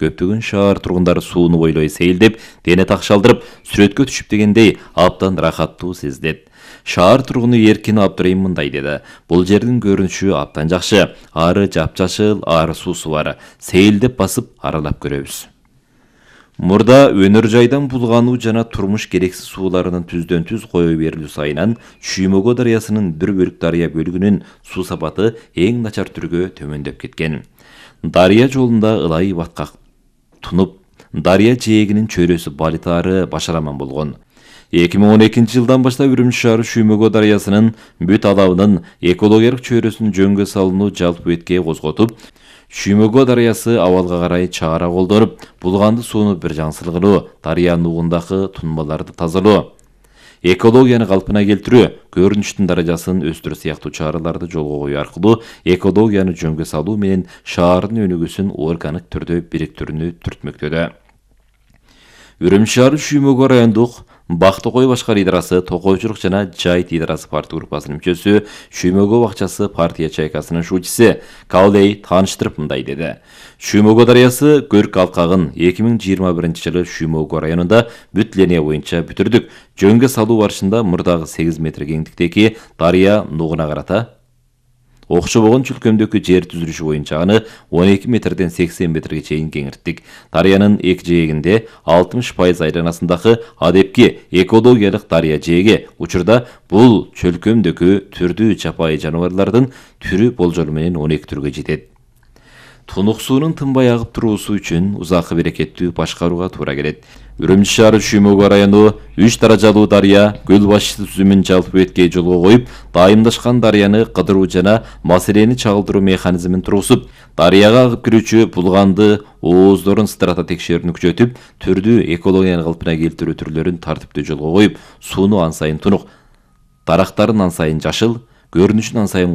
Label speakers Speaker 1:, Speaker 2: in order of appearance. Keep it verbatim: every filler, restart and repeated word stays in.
Speaker 1: көптөгөн шаар тургундары сууну бойлой сейилдеп, дене такшалдырып, сүрөткө түшүп дегендей абдан рахаттуу сездет. Шаар тургуну Эркин Абдырайым мындай деди. Бул жердин көрүнүшү абдан жакшы. Ары жапжашыл, ары суусу бар. Сейилдеп басып аралап көрөбүз. Мурда өнөр жайдан булгануу жана турмуш керексиз сууларынын түздөн түз кое берилүү сайынан Шүймөгө дарыясынын бир бөлүк дарыя бөлүгүнүн суу сапаты эң начар түргө төмөндөп кеткен. Дарыя жолунда ылай баткак тунуп, дарыя жээгинин чөйрөсү балитаары башараман болгон. эки миң он экинчи жылдан баштап Үрүмчү шаары Шүймөгө дарыясынын бүт алабынын экологиялык чөйрөсүн жөнгө салууну жалпы бетке козготуп, Шүймөгө дарыясы абалга карай чара колдонуп, булганды сууну бир жаңсылгылоо, дарыя нугундагы тунбаларды тазалоо, экологияны калпына келтирүү, көрүнүштүн даражасын өстүрүү сыяктуу чараларды жолго коюу аркылуу экологияны жөнгө салуу менен шаардын өнүгүүсүн органик түрдө бириктирүүнү түртмөктөдө. Үрүмчү шаары Шүймөгө райондук Бактыкой башкар идарасы, Токойчулук жана Жайыт идарасы партия группасынын мүчөсү, Шүймөгө бакчасы партия чайкасынын шуучусу Каулей тааныштырып мындай деди. Шүймөгө дарыясы көрк алкагын эки миң жыйырма биринчи жылы Шүймөгө районунда бүт линия боюнча бүтүрдүк. Жөнгө салуу барышында мурдагы сегиз метр кеңдиктеги дарыя нугуна карата окшобогон чүлкөмдөгү жер түзүлүшү боюнча аны он эки метрден сексен метрге чейин кеңирттик. Дарыянын эки жээгинде алтымыш пайыз айланасындагы адепки экологиялык дарыя жээги учурда бул чөлкөмдөгү түрдүү жапайы жаныбарлардын түрү болжолу менен он эки түргө жетет. Тунук суунун тынбай агып туруусу үчүн узакы берекеттүү башкарууга туура келет. Үрүмчү шаары Шүймөгө району үч даражалуу дарыя көл башчысы түзүмүн жалпы бетке жолго коюп, дайымдашкан дарыяны кыдыруу жана маселени чагылдыруу механизмин тургузуп, дарыяга агып кирүүчү булганды ооздорун сыдырата текшерүүнү күчөтүп, түрдүү экологияны калпына келтирүү түрлөрүн тартиптүү жолго коюп, сууну ан сайын тунук, дарактарын ан сайын жашыл, көрүнүшүн ан сайын